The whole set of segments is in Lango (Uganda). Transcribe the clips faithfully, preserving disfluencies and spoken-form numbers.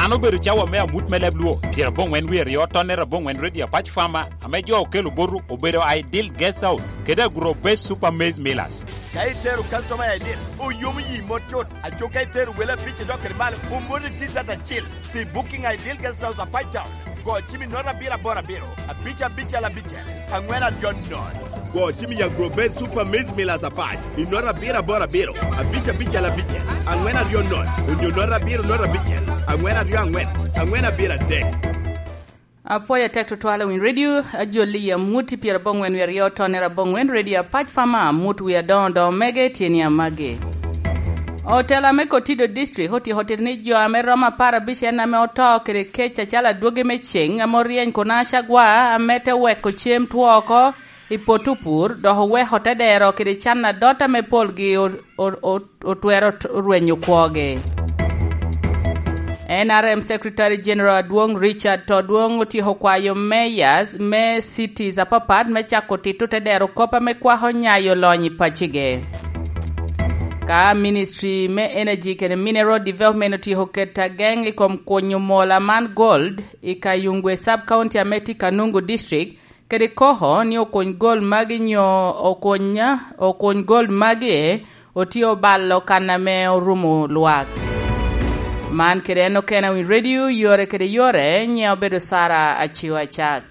An obedo cawa me amut me leb Luo, pyerabongwen wie aryo, tonnere abongwen, Radio Apac Farmer, ame jo okelo botu obedo Ideal Guest House kede Agro Base Super Maize Millers. Ka itero customer i Ideal, oyomo yi mot tut. Aco ka itero wele abic i dok kede malo, omoni T-shirt acil. Pi booking Ideal Guest House Apac Town, go cim i nota abiro aboro abiro, abic abicel abicel, angwen aryo nono. Go cim i Agro Base Super Maize Millers Apac i nota abiro aboro abiro, abic abicel abicel, angwen aryo nono, onyo nota abiro nota abicel, angwen aryo angwen, angwen abiro adek. Apwoyo atek tutwal i winy redio, ajolli i amut i pyerabongwen wie aryo, tonnere abongwen, Radio Apac Farmer, amut wie adoŋo doŋo mege tyen i amagi. Otela me Kotido District otyeko tito ni jo ame romo apar abic en ame oto kede kec acalo adwogi me ceŋ ame oryeny kun a Cagwa ame te weko cem two oko i poto pur, dok oweko te dero kede can adot ame polgi o-, o-, o-, otwero t-, rwenyo kwogi. N R M Secretary General Adwoŋ Richard Todwoŋ otyeko kwayo mayors me cities apapat me cako tito te dero kop ame kwako nyayo lony i pacige. Ka Ministry me Energy kede Mineral Development otyeko keto ageŋ i kom kunyo mola man gold i Kayungwe Sub-County ame tye Kanungu District, kede koko ni okuny gol magi nyo okuny, okuny gol magi otye obalo kan ame orumo lwak. Man kede en okene i winy redio, yore kede yore, nyiŋe obedo Sara Aciwa Acak.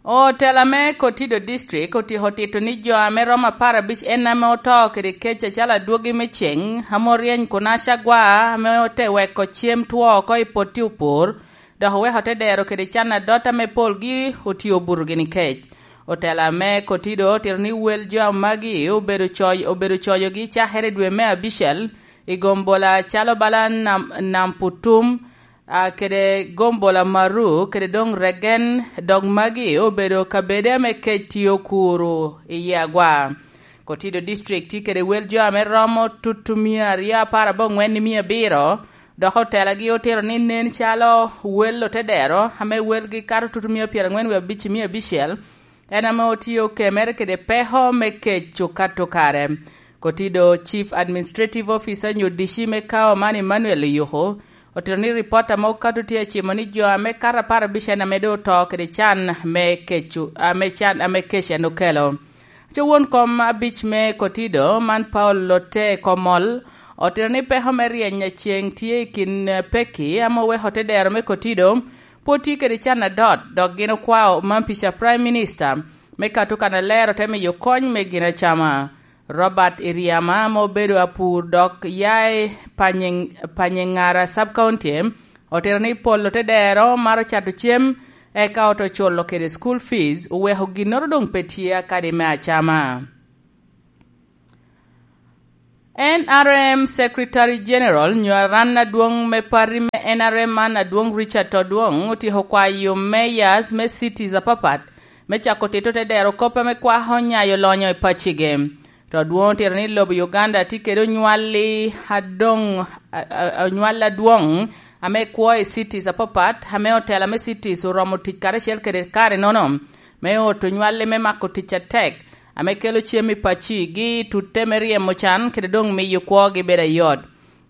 Otela me Kotido District otyeko tito ni jo ame romo apar abic en ame oto kede kec acalo adwogi me ceŋ, ame oryeny kun a Cagwa, ame ote weko cem two oko i potti opur, dok oweko te dero kede can adot ame polgi otye obuto gini kec. Otela me Kotido otito ni wel jo magi obedo coy-, obedo coyogi cakere i dwe me abicel i gombola calo bala Nam-, Namputum, a, kede gombola Maru, kede doŋ Regen, dok magi obedo kabede ame kec tye okuro iye agwa. Kotido District tye kede wel jo ame romo tutu mia aryo apar abongwen i mia abiro, dok otelagi otito ni nen calo wel otedero, ame welgi kato tutu mia pyerangwen wie abic i mia abicel, en ame otye okemere kede peko me kec okato kare. Kotido Chief Administrative Officer nyo D C me kawa man Emmanuel Oyuku otito ni ripot ame okato tye acimo ni jo ame kato apar abic en ame doŋ oto kede can me keco, ame can, ame kec en okelo. Aco won kom abic me Kotido man Paul Lote Komol otito ni peko me ryeny a ceŋ tye i kin, eh, pekki ame oweko te dero me Kotido pwod tye kede can adot, dok gin okwao man pica Prime Minister me kato kannaler ote miyo kony me gin acama. Robert Iriama ame obedo apur dok ya i Panye-, Panyeŋara Sub-County otito ni pol otedero maro cato cem, eka oto culo kede school fees, oweko ginnoro doŋ pe tye akadi me acama. N R M Secretary General nyo aran adwoŋ me party me N R M man adwoŋ Richard Todwong otyeko kwayo mayors me cities apapat me cako tito te dero kop ame kwako nyayo lonyo i pacige. Todwong otito ni lobo Uganda tye kede onywalli adoŋ, a, a, onywalli adwoŋ ame kwo i cities apapat, ame otela me cities oromo tic karacel kede kare nono me oto onywalli me mako tic atek, ame kelo cem i paccigi, tutte me ryemo can, kede doŋ miyo kwogi bedo ayot.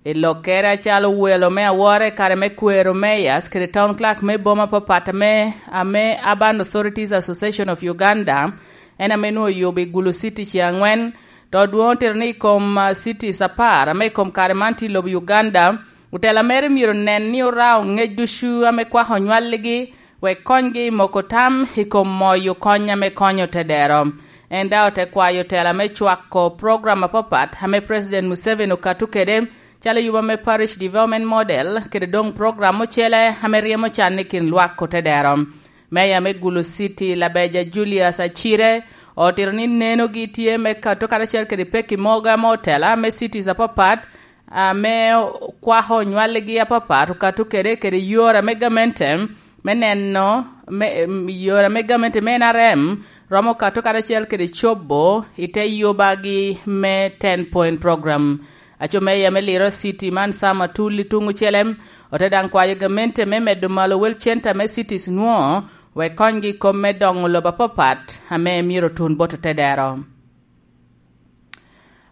I lokkere acalo welo me awora i kare me kwero mayors kede town clerk me boma apapat ame, ame Urban Authorities Association of Uganda, en ame nwoŋo oyubo i Gulu City ce angwen, to dwoŋ otito ni i kom, ah, cities apar ame i kom kare man tye i lobo Uganda, otela mere myero nen ni orao ŋec ducu ame kwako onywalligi, wek konygi i moko tam i kom moyo kony ame konyo tedero. En daŋ ote kwayo otela me cwako program apapat ame President Museveni okato kede, calo yuba me Parish Development Model, kede doŋ program ocele ame ryemo can i kin lwak otedero. Meya me Gulu City, Labeja Julius Acire, otito ni nenogi tye me kato karacel kede pekki mogo ame otela me cities apapat ame kwako onywalligi apapat okato kede, kede yore ame gamente me neno, me, em, yore ame gamente me N R M romo kato karacel kede cobo i te yubagi me ten point program. Aco meya me Lira City man Sam Atuli tuŋ ocele, ote daŋ kwayo gamente me medo malo wel center me cities nwoŋo, wek konygi i kom me doŋo lobo apapat ame myero otun bot otedero.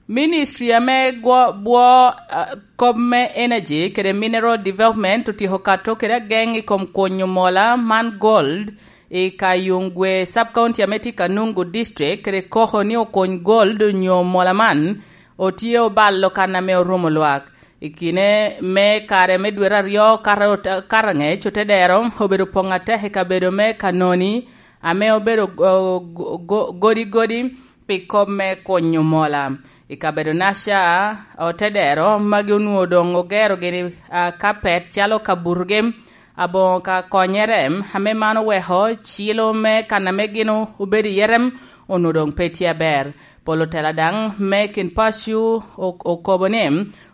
Ministry ame gwo-, bwo, ah, kop me Energy kede Mineral Development otyeko kato kede ageŋ i kom kunyo mola man gold i Kayungwe Sub-County ame tye Kanungu District, kede koko ni okuny gold onyo mola man otye obalo kan ame orumo lwak. I kine me kare me dwete aryo kara-, karaŋec, otedero obedo poŋ atek i kabedo me Kanoni, ame obedo go-, go-, go-, godi godi pi kop me kunyo mola. I kabedo-naca, otedero magi onwoŋo doŋ ogero gini, ah, kapet calo kabutogi, aboŋo ka konyere, ame man oweko cilo me kan ame gin o-, obedo iye rem onwoŋo doŋ pe tye aber. Pol otela daŋ me kin paco o-, okobo ni,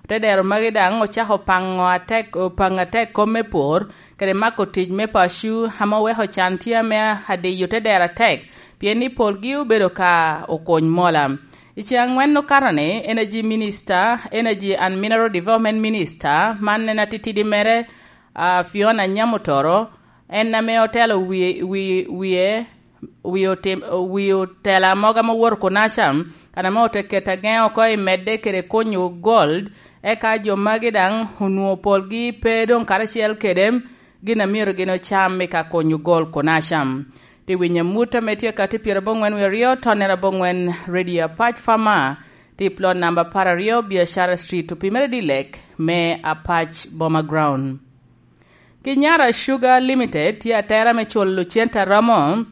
otedero magi daŋ ocako paŋo atek, paŋo atek kom me pwor, kede mako tic me paco, ame oweko can tye ame adiyo otedero atek, pien ni polgi obedo ka okuny mola. I ceŋ aŋwen okato-ni, Energy Minister, Energy and Mineral Development Minister, man en atitidi mere, ah, Fiona Nyamutoro, en ame otelo wi-, wi-, wie, wi otim-, wi otela mogo ame owoto Konasha, kan ame ote keto ageŋ oko i medde kede kunyo gold, eka jo magi daŋ onwoŋo polgi pe doŋ karacel kede gin a myero gin ocam i ka kunyo gold Konasha. Tye winyo amut ame tye ka tye pyeraboŋwen wie aryo, tonnere aboŋwen, Radio Apac Farmer, tye i plot namba apar aryo, Biashara Street, opimere dilek me Apac Boma Ground. Kinyara Sugar Limited tye atera me culo cente a romo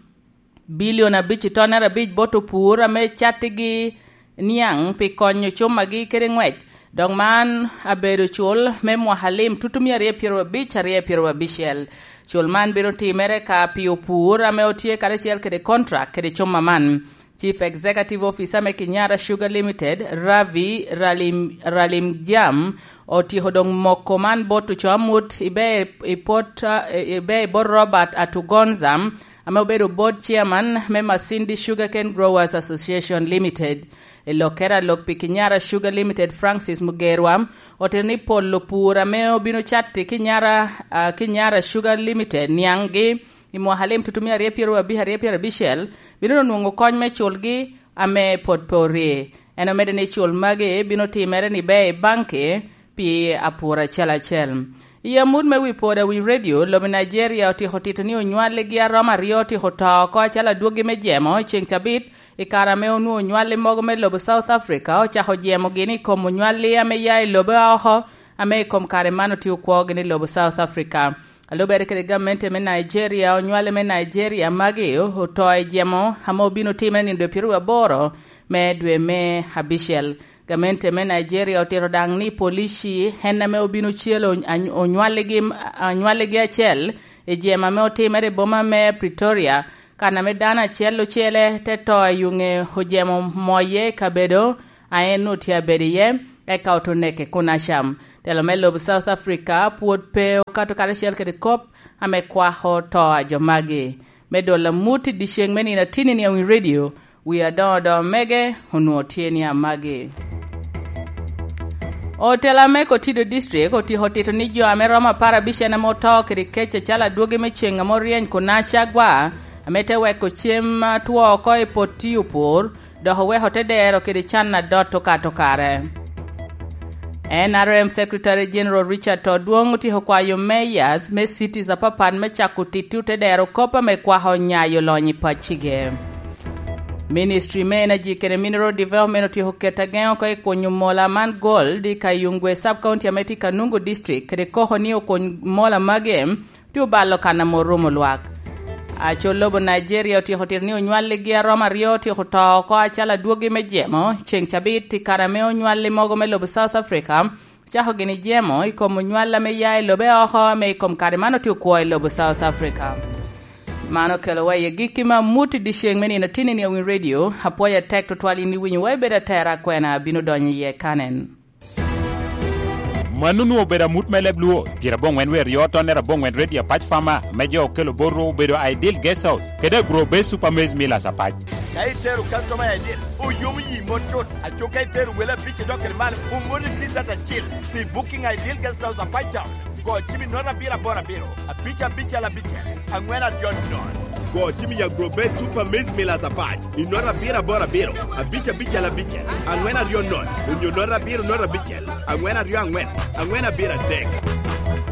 bilion abic i tonnere abic bot opur ame cattigi niaŋ pi konyo cummagi kede ŋwec. Dok man abedo cul me mwaka lim tutu mia aryo pyeraryo abic, aryo pyeraryo abicel. Cul man bino timere ka pi opur ame otye karacel kede kontrak kede cumma man. Chief Executive Officer me Kinyara Sugar Limited, Ravi Ralim-, Ralimjam, otyeko doŋ moko man bot oco amut ibe i pot, eh, ibe i bot Robert Atugonza, ame obedo board chairman me Masindi Sugarcane Growers Association Limited. I lokkere a lok pi Kinyara Sugar Limited, Francis Mugerwa otito ni pol opur ame obino catti Kinyara, ah, Kinyara Sugar Limited niaŋgi i mwaka lim tutumia aryo pyeraryo abic, aryo pyeraryo abicel, bino onwoŋo kony me culgi ame pwod pe orye. En omedde ni cul magi bino timere ni ber i banki pi apur acel acel. I amut me wi poda wi redio, lobo Nigeria otyeko tito ni onywalligi a romo aryo otyeko to oko acalo adwogi me jemo i ceŋ cabit, i kare ame onwoŋo onywalli mogo me lobo South Africa ocako jemogi ni i kom onywalli ame ya i lobo a oko, ame i kom kare man otye okwogi ni lobo South Africa. A lubere kede gamente me Nigeria, onywale me Nigeria magi oto i jemo ame obino timere nino dwe pyeraryo aboro me dwe me abicel. Gamente me Nigeria otito daŋ ni polici en ame obino celo any-, onywaligi, onywaligi acel i jemo ame otimere i boma me Pretoria, kan ame dano acel ocele te to i yuŋe ojemo moye i kabedo a en onwoŋo tye abedo iye, eka oto neke kun acam. Telo me lobo South Africa pwod pe okato karacel kede kop ame kwako to a jo magi. Me dolo amut i dyeceŋ me nino atinni ni a wi redio, wi adoŋo doŋo mege onwoŋo tye ni a magi. Otela me Kotido District otyeko tito ni jo ame romo apar abicel ame oto kede kec acalo adwogi me ceŋ ame oryeny kun acagwa, ame te weko cem atwo oko i pot tiyo pur, dok oweko te dero kede can adot okato kare. N R M Secretary General Richard Todwong otyeko kwayo mayors me cities apapat me cako titi otedero kop ame kwako nyayo lony i pacige. Ministry me Energy kede Mineral Development otyeko keto ageŋ oko i kunyo mola man gold i Kayungwe Sub-County ame tye Kanungu District, kede koko ni okuny mola magi tye obalo kan ame orumo lwak. Acol lobo Nigeria otyeko tito ni onywalligi a romo aryo otyeko to oko acalo adwogi me jemo ceŋ cabit i kare ame onywalli mogo me lobo South Africa ocako gini jemo i kom onywalla me ya i lobe oko ame i kom kare man otye okwo i lobo South Africa. Man okelowa i agikki me amut i dyeceŋ me nino atinni ni a wi redio. Apwoyo atek tutwal in iwinyowa, ibedo atera akwena abino donyo iye kanen. Mano onwoŋo obedo amut me leb Luo, pyeraboŋwen wer yo tonnere aboŋwen redio Apac Farmer, me jo okelo bot rwo obedo Ideal Guest House, kede Agro Base Super Maize Millers Apac. Ka itero customer Ideal, oyomo yi mot cut. Aco ka itero wele abic idok kede malo, omoni T-shirt acil pi Booking Ideal Guest House Apac Town. Go cim i nono abiro aboro abiro, abic abicel abicel, aŋwen aryo nono. Go cim i Agro Base Super Maize Millers Apac i nota abiro aboro abiro, abic abicel abicel, aŋwen aryo nono, onyo nota abiro nota abicel, aŋwen aryo aŋwen, aŋwen abiro adek.